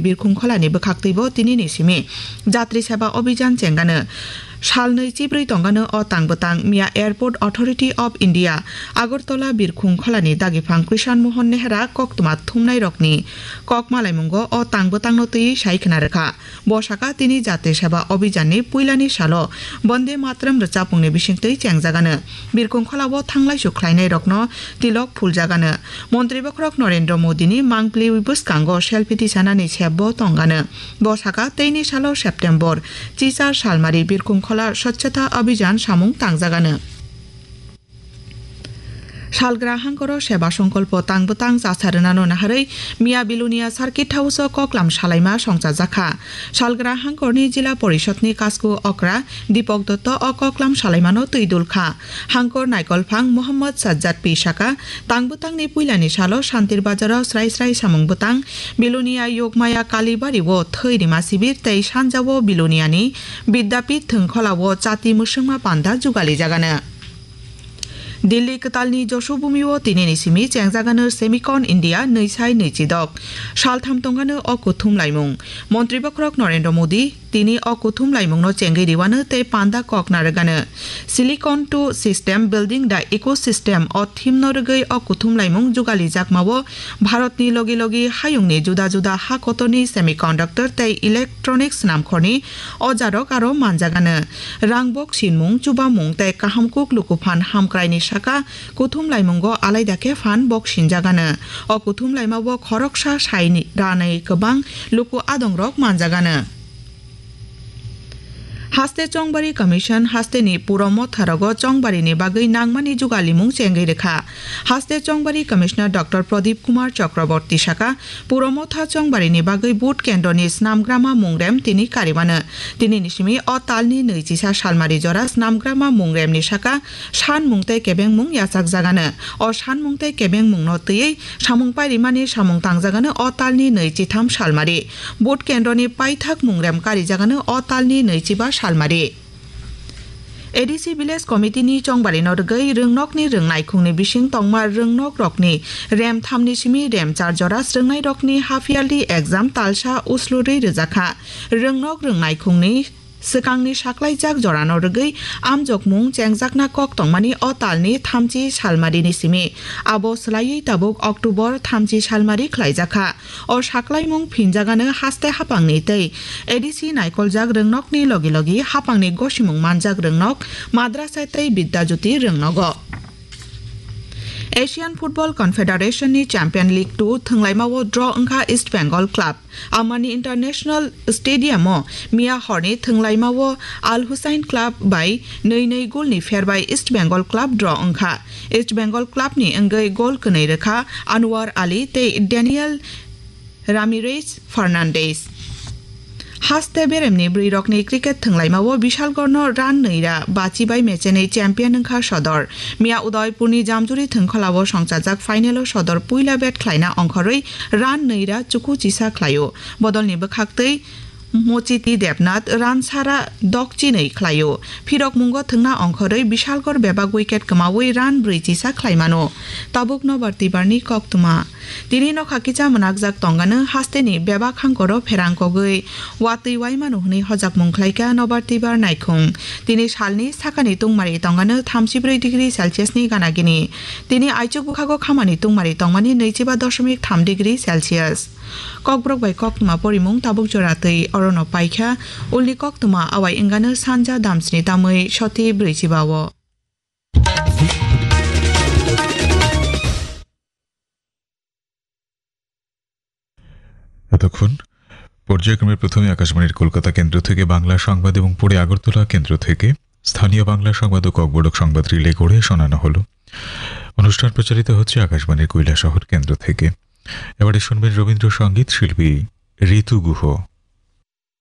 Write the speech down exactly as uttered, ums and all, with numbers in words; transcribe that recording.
Birkhung Kholani bwkhaktwibo tinini simi Jatri Seba Abhijan chengano. Salnwi chibrwi tongano o tang bwtang. Miya Airport Authority of India Agartala Birkhung Kholani dagiphang Krishan Mohan Nehra koktwma thumnairokni kok malaimungo o tang bwtangno twiwi sai khna rwkha. Bo saka tini Jatri Seba Abhijanni puilani salo Bonde Mataram rwchapmungni bisingtwi chengjagano. Birkhung Kholao thanglaisu khlainairokno tilok phuljagano. Montri bokhorok Narendra Modini mangpli bwskango selfie tisanani sepbo tongano. Bo saka teini salo September chichar salmari Birkhung Khola Swchhata Abhijan samung tangjagano. Salgra hangkoro Seba Songkolpo tang bwtang chasa rwnano naharwi Miya Bilonia Circuit House-o koklam salaima songchajakha. Salgra hangkorni Jila Porishodni Kasku Okra Dipok Dotto o koklam salaimano twi dulkha. Hangkor naikolphang Mohammad Sajjad P saka, tang bwtangni puilani salo Santir Bazaro srai srai samung bwtang, Bilonia Yogmaya Kalibari-o thwi rima sibir tei sanjao Biloniani Bidyapith thwngkholao chati mwswngma panda jugalijagano. Delhi kwtalni Josubhumi-o tinini simi chengjagano Semicon India nwi sai nwi chidok. Saltham tongano o kuthum laimung. Montri bokhorok Narendra Modi tini o kuthum laimungno chengwi riwano tei panda kok narwgano. Silicon to System Building the Ecosystem o theme no rwgwi o kuthum laimung jugalijakmao Bharatni logi logi hayungni juda juda ha kotorni semiconductor tei electronics namkhorni ojarok aro manjagano. Rang bok sinmung, chubamung tei kahamkuk lukuphan hamkraini saka kuthum laimungo alaida khe phan bok sinjagano. O kuthum laimao khoroksa sai ranai kwbang luku adongrok manjagano. Haste Chongbari Commission hasteni puro motharogo chongbarini bagwi nangmani jugalimung chengwi rwkha. Haste Chongbari Commissioner Doctor Pradip Kumar Chakraborty saka, puro motha chongbarini bagwi vote kendroni snamgrama mungrem tini karimano. Tinini simi o talni nwi chisa salmari jora snamgrama mungremni saka sanmung tei kebengmung yachakjagano. O sanmung tei kebengmungno twiwi samung pairimani samung tangjagano o talni nwi chitham salmari. Vote kendroni paithak mungrem karijagano o talni nwi chiba salmari. A D C Village Committee ni chongbarino rwgwi rwngnokni rwngnaikhungni bising tongma rwngnokrokni rem thamni simi rem char jora swrwngnairokni half yearly exam talsa uslurwi rwjakha. Rwngnok rwngnaikhungni swkangni saklaijak jorano rwgwi amjokmung chengjakna kok tongmani o talni thamchi salmarini simi. Abo swlaiwi tabuk October thamchi salmari khlaijakha. O saklaimung phinjagano haste hapangni tei A D C naikoljak rwngnokni logi logi hapangni gosimung manjak rwngnok Madrasa tei Bidya Jyoti rwngnogo. Asian Football Confederation ni Champion League two thwnglaimao draw wngkha East Bengal club. Amani International Stadium o miya horni thwnglaimao Al Hussein club bai nwi nwi goal ni pher bai East Bengal club draw wngkha. East Bengal club ni wngwi goal kwnwi rwkha Anwar Ali tei Daniel Ramirez Fernandez. Haste beremni bwrwirokni cricket thwnglaimao Bishalgorno run nwira bachibai mechenwi champion wngkha Sodor. Miya Udaipurni Jamjuri thwngkholao songchajak final-o Sodor puila bat khlaina ongkhorwi run nwira chuku chisa khlaio. Bodolni bwkhaktwi Mochiti Debnath run sara dokchinwi khlaio. Phirokmungo thwngna ongkhorwi Bishalgor bebak wicket kwmawi run brwi chisa khlaimano. Tabuk nobar twibarni koktwma. Tini nokha kisa mwnakjak tongano hasteni bebak hangkoro pherang kogwi watwi waimano hwnwi hojakmung khlaikha nobar twibar naikhung. Tini salni sakani tungmari tongano thamchibrwi degree Celsius ni gana gini. Tini aichuk bwkhago khamani tungmari tongmani nwichiba doshomik tham degree Celsius. Kokborok bai koktwma porimung tabuk jora twi orono paikha. Ulni koktwma awai wngano sanja damsni tamwi soti brwichiba o. এতক্ষণ পর্যায়ক্রমে প্রথমে আকাশবাণীর কলকাতা কেন্দ্র থেকে বাংলা সংবাদ এবং পরে আগরতলা কেন্দ্র থেকে স্থানীয় বাংলা সংবাদ ও ককবরক সংবাদ রিলে করে শোনানো হলো। অনুষ্ঠান প্রচারিত হচ্ছে আকাশবাণীর কৈলাসহর কেন্দ্র থেকে। এবারে শুনবেন রবীন্দ্রসঙ্গীত শিল্পী ঋতু গুহ।